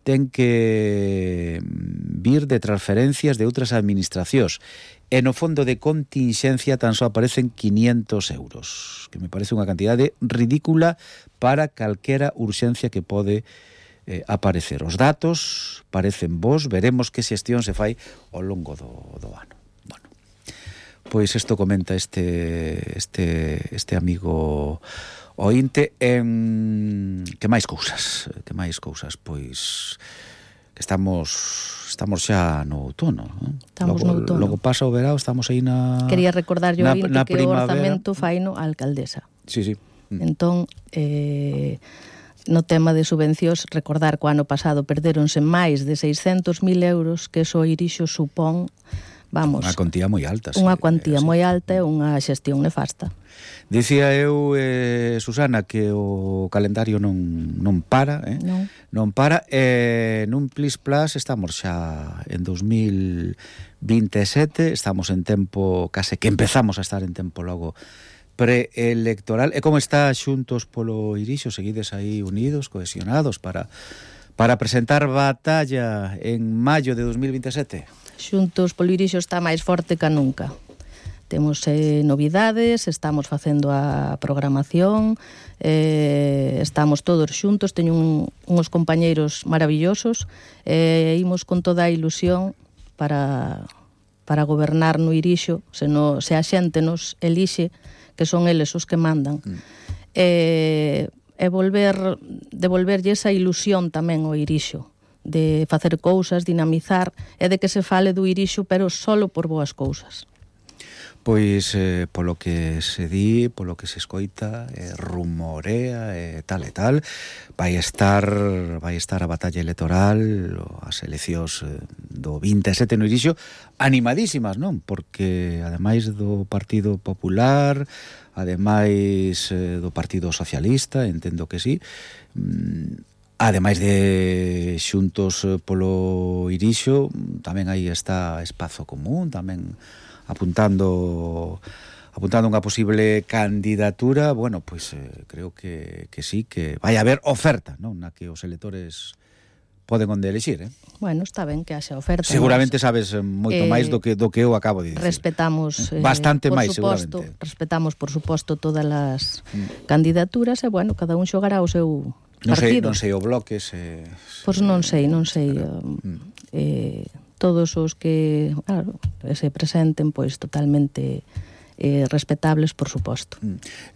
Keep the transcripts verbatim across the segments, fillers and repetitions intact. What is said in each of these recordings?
ten que vir de transferencias de outras administracións e no fondo de continxencia tan só aparecen quinientos euros, que me parece unha cantidade ridícula para calquera urxencia que pode eh, aparecer. Os datos parecen bons, veremos que xestión se fai ao longo do, do ano. Bueno, pois isto comenta este este este amigo ointe. En que máis cousas, que máis cousas, pois que estamos estamos xa no outono, non? Estamos logo, no outono. Logo pasa o verao, estamos aí na Quería recordar yo na, ointe na que primavera. o orzamento faino a alcaldesa. Sí, sí. Mm. Entón, eh, no tema de subvencións, recordar que o ano pasado perderonse máis de seiscentos mil euros, que eso Irixo supón, vamos, unha cuantía moi alta. Unha sí, cuantía sí. moi alta e unha xestión nefasta. Dicía eu, eh, Susana, que o calendario non, non para, eh? Non. non para, e nun Plis Plus estamos xa en dos mil vinte e sete, estamos en tempo, case que empezamos a estar en tempo logo preelectoral. E como está Xuntos polo Irixo? Seguides aí unidos, cohesionados para, para presentar batalla en maio de dos mil vinte e sete? Xuntos polo Irixo está máis forte que nunca. Temos eh, novidades, estamos facendo a programación, eh, estamos todos xuntos, teño un, uns compañeiros maravillosos, e eh, imos con toda a ilusión para, para gobernar no Irixo, se, no, se a xente nos elixe, que son eles os que mandan. Mm. E, e volver, devolverlle esa ilusión tamén ao Irixo, de facer cousas, dinamizar, e de que se fale do Irixo, pero solo por boas cousas. Pois, eh, polo que se di, polo que se escoita, eh, rumorea, e eh, tal e tal, vai estar vai estar a batalla electoral, as eleccións eh, do vinte e sete no Irixo, animadísimas, non? Porque, ademais do Partido Popular, ademais eh, do Partido Socialista, entendo que sí, mm, ademais de Xuntos polo Irixo, tamén aí está Espazo Común, tamén apuntando apuntando unha posible candidatura. Bueno, pois eh, creo que, que sí, que vai haber oferta, non? Na que os electores poden onde elixir, eh? Bueno, está ben que haxa oferta. Seguramente nos, sabes moito eh, máis do que do que eu acabo de dicir. Respetamos eh, bastante por máis, suposto, seguramente. Respetamos, por suposto, todas as mm. candidaturas e, bueno, cada un xogará o seu non partido. Sei, non sei o bloque se... Pois non sei, non sei... Mm. Eh, todos os que, claro, se presenten, pois totalmente eh, respetables, por suposto.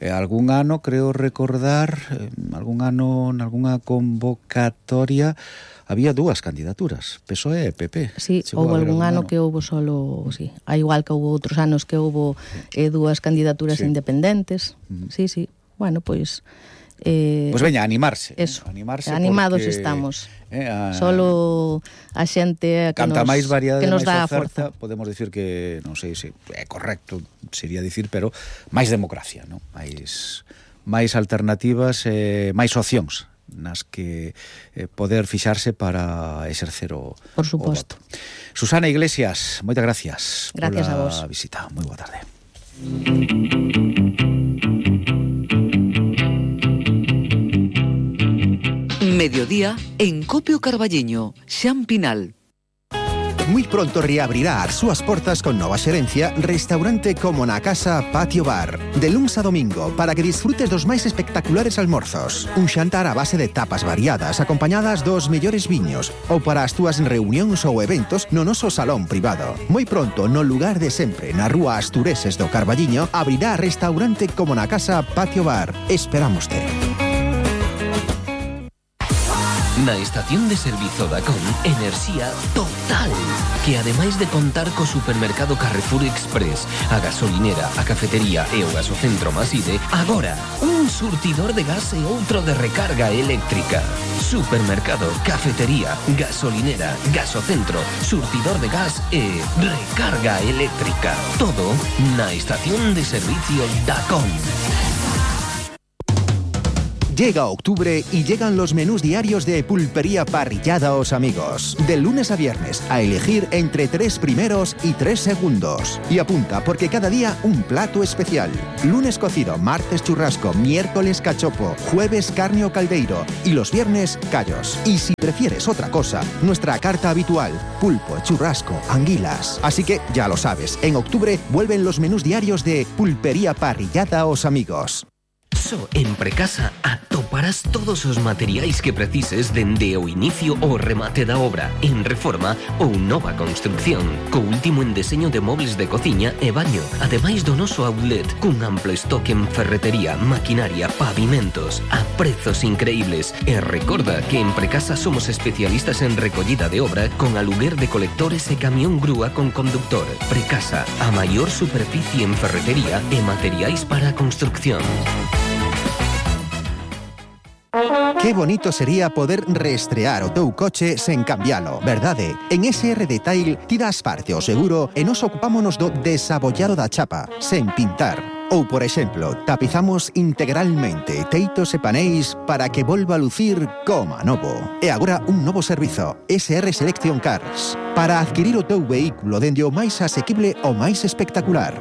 Eh, algún ano, creo recordar, eh, algún ano, nalgúna convocatoria, había dúas candidaturas, P S O E e P P. Sí, houve algún ano, ano que houve solo, sí, a igual que houve outros anos que houve eh, dúas candidaturas sí. independentes. Uh-huh. Sí, sí. Bueno, pois... Eh, pois veña, animarse. Eso, animarse animados porque, estamos. Eh, a, Solo a xente que canta nos, máis variedade, que nos máis dá a oferta, forza. podemos dicir que, non sei se é correcto, sería dicir, pero máis democracia, non? Máis, máis alternativas, eh, máis opcións nas que eh, poder fixarse para exercer o, por suposto. O voto. Susana Iglesias, moitas gracias. Gracias a vos. Visita. Moi boa tarde. Mediodía en Copio Carballiño, Xan Pinal. Muy pronto reabrirá as súas portas con nova xerencia Restaurante Como na Casa Patio Bar. De luns a domingo, para que disfrutes dos máis espectaculares almorzos. Un xantar a base de tapas variadas, acompañadas dos mellores viños, ou para as túas reunións ou eventos no noso salón privado. Moi pronto, no lugar de sempre, na rúa Astureses do Carballiño, abrirá Restaurante Como na Casa Patio Bar. Esperámoste. Na estación de servizo Dacón, enerxía total, que ademais de contar co supermercado Carrefour Express, a gasolinera, a cafetería e o gasocentro Maside, agora un surtidor de gas e outro de recarga eléctrica. Supermercado, cafetería, gasolinera, gasocentro, surtidor de gas e recarga eléctrica. Todo na estación de servicio Dacón. Llega octubre y llegan los menús diarios de Pulpería Parrillada Os Amigos. De lunes a viernes, a elegir entre tres primeros y tres segundos. Y apunta, porque cada día un plato especial. Lunes cocido, martes churrasco, miércoles cachopo, jueves carne o caldeiro y los viernes callos. Y si prefieres otra cosa, nuestra carta habitual, pulpo, churrasco, anguilas. Así que ya lo sabes, en octubre vuelven los menús diarios de Pulpería Parrillada Os Amigos. Só en Precasa atoparás todos os materiais que precises dende o inicio ao remate da obra, en reforma ou nova construcción, co último en deseño de mobles de cociña e baño, ademais do noso outlet, cun amplo estoque en ferretería, maquinaria, pavimentos, a prezos increíbles. E recorda que en Precasa somos especialistas en recollida de obra con aluguer de colectores e camión grúa con conductor. Precasa, a maior superficie en ferretería e materiais para a construcción. Qué bonito sería poder reestrear o teu coche sen cambialo, verdade? En S R Detail ti das parte ao seguro e nos ocupámonos do desabollado da chapa, sen pintar. Ou, por exemplo, tapizamos integralmente teitos e paneis para que volva a lucir como a novo. E agora un novo servizo, S R Selection Cars, para adquirir o teu vehículo dende o máis asequible ao máis espectacular.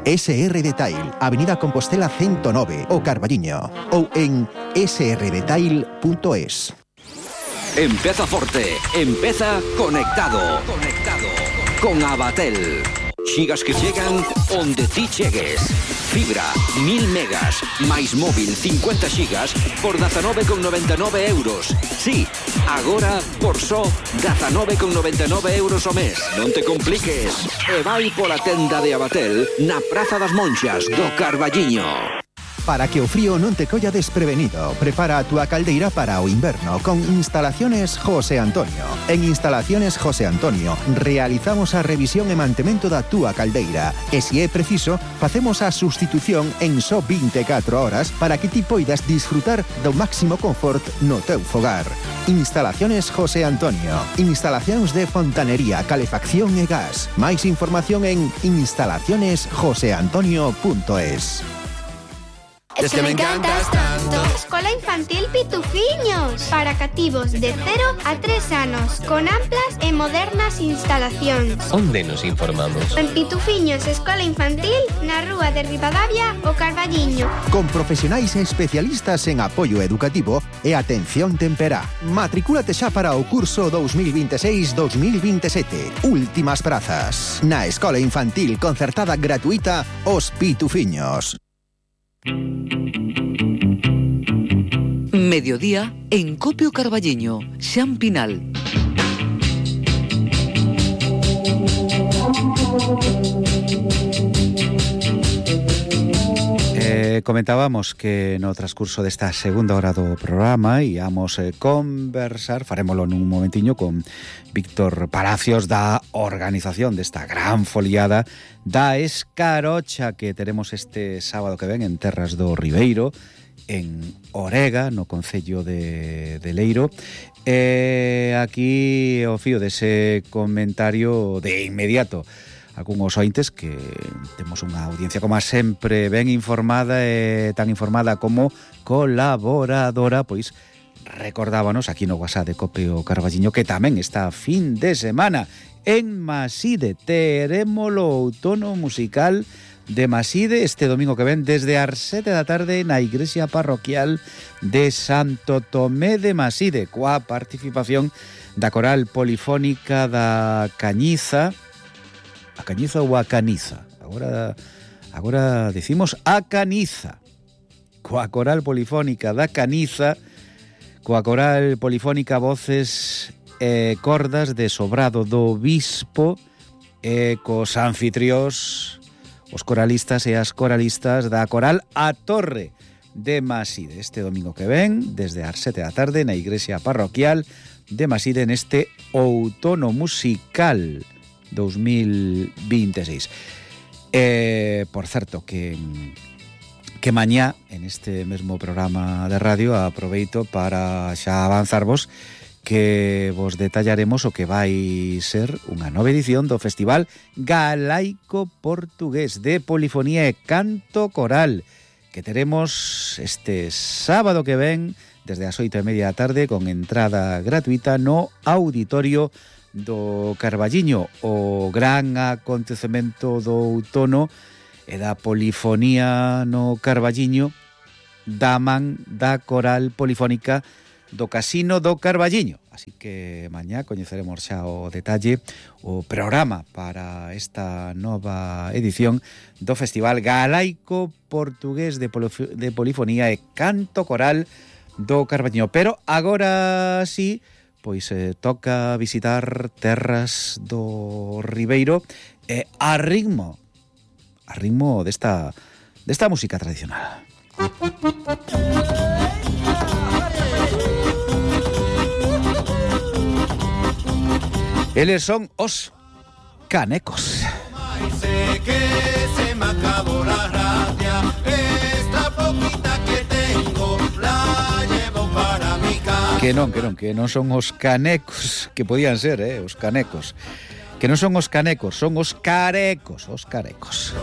S R Detail, Avenida Compostela ciento nove, o Carballiño, ou en s r detail punto es. Empeza forte, empeza conectado. Conectado con Abatel. Xigas que chegan onde ti chegues. Fibra, mil megas, máis móvil cincuenta xigas por dezanove con noventa e nove euros. Sí, agora por só dezanove con noventa e nove euros o mes. Non te compliques. E vai pola tenda de Abatel na Praza das Monxas do Carballiño. Para que o frío non te colla desprevenido, prepara a túa caldeira para o inverno con Instalaciones José Antonio. En Instalaciones José Antonio realizamos a revisión e mantemento da túa caldeira e, se é preciso, facemos a sustitución en só vinte e catro horas para que ti poidas disfrutar do máximo confort no teu fogar. Instalaciones José Antonio. Instalacións de fontanería, calefacción e gas. Máis información en instalaciones josé antonio punto es. Es que me encantas tanto. Escola Infantil Pitufiños, para cativos de cero a tres anos, con amplas e modernas instalacións. Onde nos informamos? En Pitufiños Escola Infantil, na rúa de Ribadavia, o Carballiño. Con profesionais e especialistas en apoio educativo e atención temperá. Matricúlate xa para o curso dos mil veintiséis dos mil veintisiete. Últimas prazas. Na Escola Infantil concertada gratuita Os Pitufiños. Mediodía en Copio Carballiño, Xan Pinal. Eh, comentábamos que no transcurso desta segunda hora do programa íamos eh, conversar, farémolo nun momentiño, con Víctor Palacios da organización desta gran foliada da Escarocha que teremos este sábado que ven en Terras do Ribeiro, en Orega, no concello de, de Leiro. E aquí o fío dese comentario de inmediato algúns ointes que temos unha audiencia como sempre ben informada e tan informada como colaboradora, pois recordábanos aquí no WhatsApp de Copio Carballiño que tamén está fin de semana en Maside. Teremos o outono musical de Maside este domingo que ven desde as sete da tarde na igrexa parroquial de Santo Tomé de Maside, coa participación da coral polifónica da Cañiza. A Cañiza ou a Caniza? Agora, agora decimos a Caniza. Coa coral polifónica da Caniza, coa coral polifónica Voces e Cordas de Sobrado do Bispo e cos anfitriós, os coralistas e as coralistas da coral A Torre de Maside. Este domingo que ven, desde as sete da tarde, na igrexa parroquial de Maside, neste outono musical dos mil veintiséis. Eh, por certo, que, que mañá, en este mesmo programa de radio, aproveito para xa avanzarvos que vos detallaremos o que vai ser unha nova edición do Festival Galaico Portugués de Polifonía e Canto Coral, que teremos este sábado que ven desde as oito e media da tarde con entrada gratuita no auditorio do Carballiño, o gran acontecemento do outono e da polifonía no Carballiño da man da coral polifónica do Casino do Carballiño. Así que mañá coñeceremos xa o detalle, o programa para esta nova edición do Festival Galaico Portugués de, Polif- de Polifonía e Canto Coral do Carballiño. Pero agora sí, pois eh, toca visitar terras do Ribeiro e a ritmo, a ritmo desta, desta música tradicional. Eles son os canecos. Sé que se me acabó la rabia, esta poquita que tengo la llevo para mi casa. Que non, que non, que non son os canecos, que podían ser, eh, os canecos. Que non son os canecos, son os carecos, os carecos.